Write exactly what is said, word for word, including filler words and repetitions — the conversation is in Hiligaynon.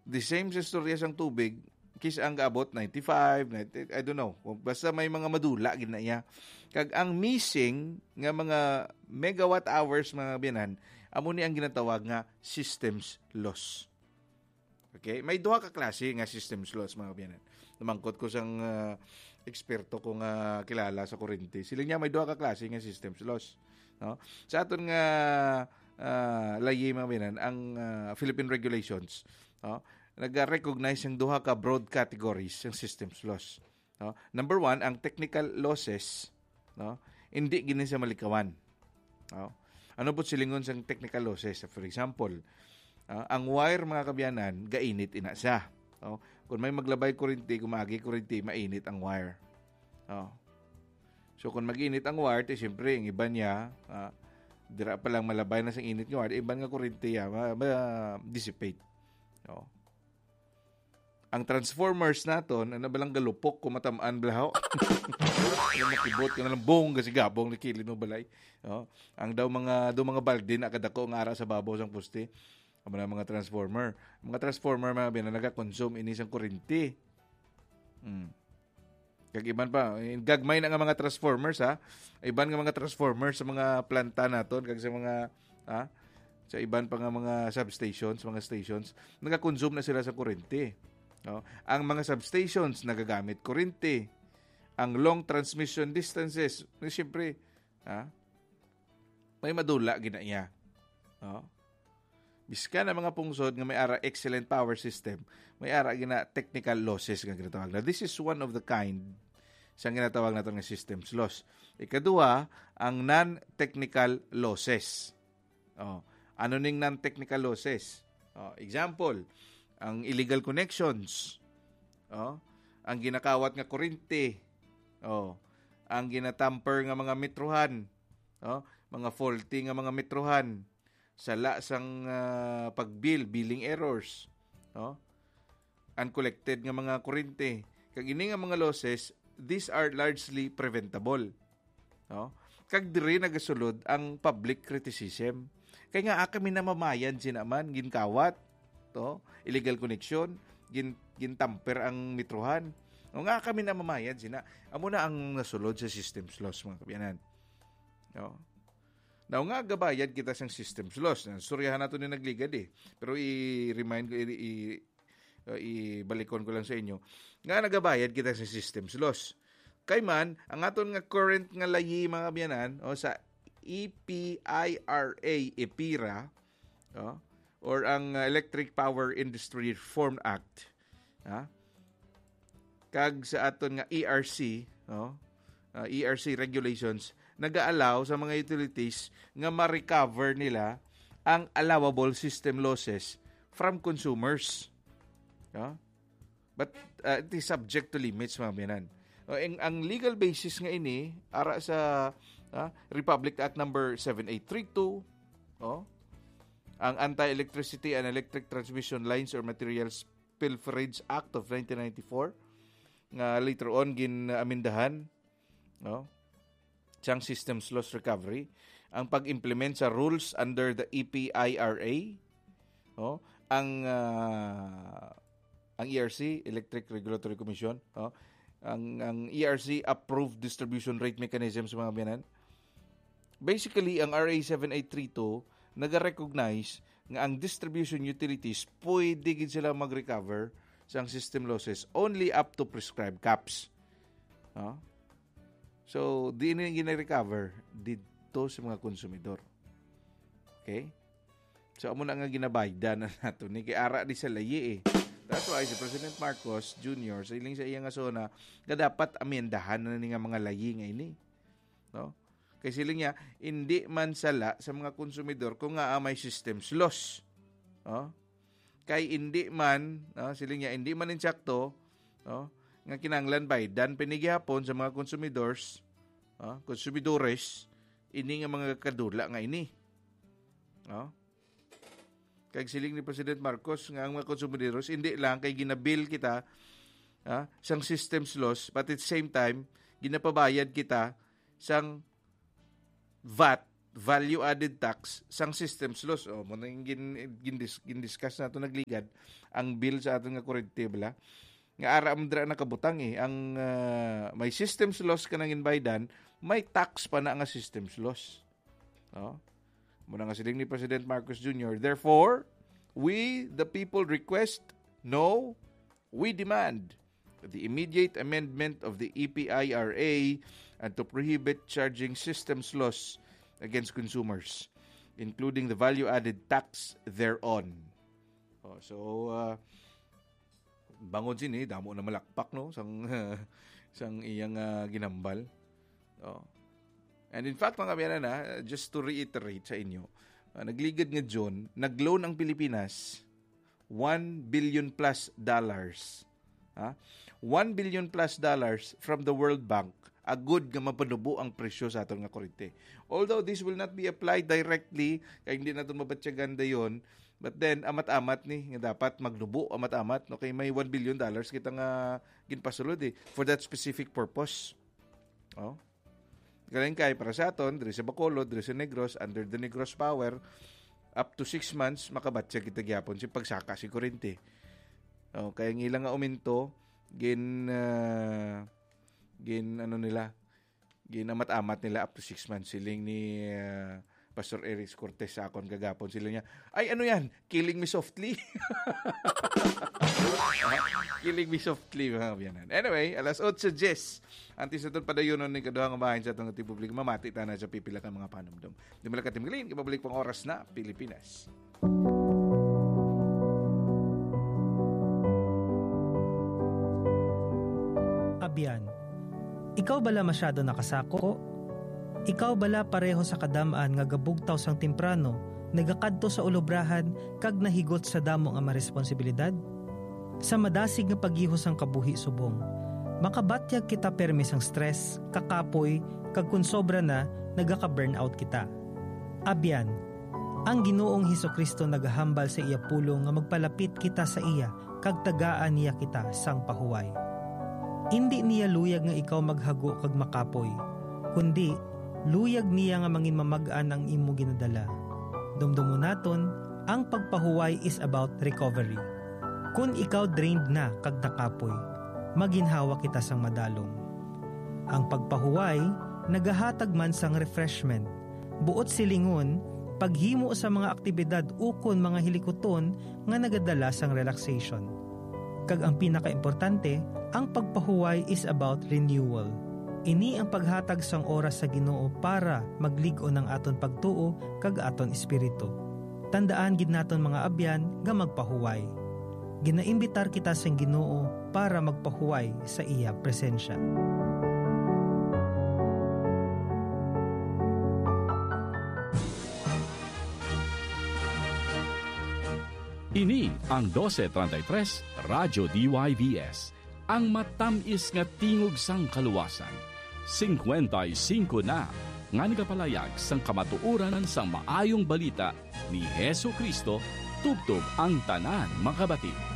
the same sa istorya sang tubig, kis ang gaabot ninety-five, ninety, I don't know. Kung basta may mga madula gid na iya. Kag ang missing nga mga megawatt hours, mga biyanan, amo ni ang ginatawag nga systems loss. Okay? May duha ka klase nga systems loss, mga biyanan. Namangkot ko sang, ah, eksperto ko nga kilala sa kurente. Sila niya may duha ka klase nga systems loss, no? Sa aton nga, ah, layi, mga biyanan, ang, ah, Philippine regulations, no, nag-recognize ang duha ka broad categories sang systems loss, no? Number one, ang technical losses, no? Hindi gini sa malikawan. No? Ano po silingon sang technical losses? For example, ah, ang wire, mga kabyanan, gainit ina siya. No? Kung may maglabay kurinti, kung maagi kurinti, mainit ang wire. No? So, kung mag-init ang wire, ti siyempre, ang iban niya, ah, dira pa lang malabay na sa init nga wire, iban nga kurinti, ah, ma-, ma-, dissipate. No? Ang transformers naton, ano ba lang galupok kung matamaan blaho? Yung makibot ka na lang, boom, kasi gabong na kilid mo balay. No? Ang daw mga, daw mga balde na kadako nga ara sa babaw sang poste. Amo na mga transformer. Mga transformer, mga bina, nagakonsume ini sang kurinti. Hmm. Kag iban pa, eh, gagmay na nga mga transformers, ha? Iban nga mga transformers sa mga planta naton, kag sa mga, ha? Sa iban pa nga mga substations, mga stations, nagakonsume na sila sa kurinti. No? Ang mga substations nagagamit kurinti. Ang long transmission distances, na siyempre, ha? May madula gina iya. No? Biskan ang mga pungsod nga may ara excellent power system, may ara gina technical losses nga ginatawag. Now, this is one of the kind sa ginatawag nato nga systems loss. Ikaduha, ang non-technical losses. Oh, ano ning non-technical losses? Oh, example, ang illegal connections. Oh, ang ginakawat nga kuryente. Oh, ang ginatamper nga mga metrohan. Oh, mga faulty nga mga metrohan. Sala sang, ah, pag-bill, billing errors. Oh, uncollected nga mga kuryente. Kag ini nga mga losses, these are largely preventable. No? Kag diri nagasulod ang public criticism. Kay nga, ah, kami na mamayad sina man, ginkawat, to, illegal connection, gin-, gintamper ang metrohan. No, nga kami na mamayad sina. Amo na ang nasulod sa systems loss, mga kabiyanan. No? Now, nga gabayad kita sang systems loss. Suryahan nato ni nagligad eh. Pero i-remind ko, i-, i-, uh, ibalikon ko lang sa inyo, nga nagabayad kita sa systems loss. Kay man, ang aton nga current nga layi, mga kabiyanan, o sa E P I R A, EPIRA, o, or ang, uh, Electric Power Industry Reform Act, ha? Kag sa aton nga E R C, no? Uh, E R C regulations, nag-a-allow sa mga utilities nga ma-recover nila ang allowable system losses from consumers. No? But, uh, it is subject to limits, mga biyanan. O, ang, ang legal basis nga ini, ara sa, ah, Republic Act number seven eight three two, oh, ang Anti-Electricity and Electric Transmission Lines or Materials Pilferage Act of nineteen ninety-four, nga later on gin-amendahan, no? Sang systems loss recovery, ang pag-implement sa rules under the E P I R A, no? Ang, ah, ang E R C, Electric Regulatory Commission, no? Ang, ang E R C approved distribution rate mechanism sa mga biyanan. Basically, ang R A seven eight three two nag-recognize nga ang distribution utilities pwede gid sila mag-recover sa system losses only up to prescribed caps. No? So, di ini gina-recover dito sa mga konsumidor. Okay? So, amo na nga ginabaydan na nato ni kay ara di sa layi eh. That's why si President Marcos Junior, sa iling sa iya nga zona, nga dapat amendahan na ni nga mga layi nga ini. No? Kay siling niya, hindi man sala sa mga konsumidor kung nga may systems loss. No? Kay hindi man, no, siling niya, hindi man insakto, no, nga kinahanglan baydan pa ni gihapon sa mga consumidors, no, consumidores, ini nga mga kadula nga ini. No? Kag siling ni President Marcos nga ang mga konsumidores, hindi lang kay ginabil kita, ah, sang systems loss, but at the same time, ginapabayad kita sang vat value-added tax sang systems loss. O, mo nang gin-, gindis-, gindiscuss nato nagligad ang bill sa aton nga kurente, bala. Nga ara man dira nakabutang, eh, ang, ah, may systems loss ka nang inbaydan, may tax pa na nga systems loss. No? Muna nga siling ni President Marcos Junior, "Therefore, we, the people, request, no, we demand the immediate amendment of the E P I R A and to prohibit charging systems loss against consumers, including the value-added tax thereon." Oh, so, uh, bangod sini, damo na malakpak, no, sang, sang iyang, ah, ginambal. Oh. And in fact, mga kaabyanan, ah, just to reiterate sa inyo, ah, nagligad nga June, nag-loan ang Pilipinas one billion plus dollars. Ha? One billion plus dollars from the World Bank, agud nga mapanubo ang presyo sa aton nga kurente. Although this will not be applied directly, kay hindi naton mabatyagan dayon, but then, amat-amat ni nga dapat magnubo, amat-amat, no? Kay may one billion dollars kita nga ginpasulod, eh, for that specific purpose. Oh. Galing kay para sa aton, diri sa Bacolod, diri sa Negros, under the Negros Power, up to six months, makabatya kita gyapon sa pagsaka si kurente. Oh, kaya ang ilang nga uminto, gin, ah, gin, ano nila, ginamat-amat nila up to six months. Siling ni, ah, Pastor Eric Cortez sa akon kagapon. Sila niya, "Ay, ano yan? Killing me softly." Killing me softly, mga kaabyanan. Anyway, alas otso diyes. Antes naton padayonon ni kaduha nga bahin sa atong publiko, mamati ta na sa pipila ka mga panumdom. Di mo lang katimgalin, kay mabalik pang oras na, Pilipinas. Abyan, ikaw bala masyado nakasako? Ikaw bala pareho sa kadam-an nga gabugtaw sang temprano, nagakadto sa ulobrahan, kag nahigot sa damo nga mga responsibilidad? Sa madasig nga paghihos sang kabuhi subong, makabatyag kita permi sang stress, kakapoy, kag kon sobra na, nagaka-burnout kita. Abyan, ang Ginoong Jesu-Cristo nagahambal sa iya pulong nga magpalapit kita sa iya kag tagaan niya kita sang pahuway. Indi niya luyag nga ikaw maghago kag makapoy, kundi luyag niya nga manginmamag-an ang imo ginadala. Dumdumon naton, ang pagpahuway is about recovery. Kon ikaw drained na kag nakapoy, maginhawa kita sang madalom. Ang pagpahuway nagahatag man sang refreshment, buot silingon, paghimo sa mga aktibidad ukon mga hilikuton nga nagadala sang relaxation. Kag ang pinakaimportante, ang pagpahuway is about renewal. Ini ang paghatag sang oras sa Ginoo para maglig-on ang aton pagtuo kag aton espiritu. Tandaan gid naton, mga abyan, nga magpahuway. Ginaimbitar kita sang Ginoo para magpahuway sa iya presensya. Ini ang dose treinta y tres Radyo D Y V S, ang matamis nga tingog sang kaluwasan. Singkwenta y singko na nga nagapalayag sang kamatuoran sang maayong balita ni Jesu-Cristo tubtob ang tanan makabati.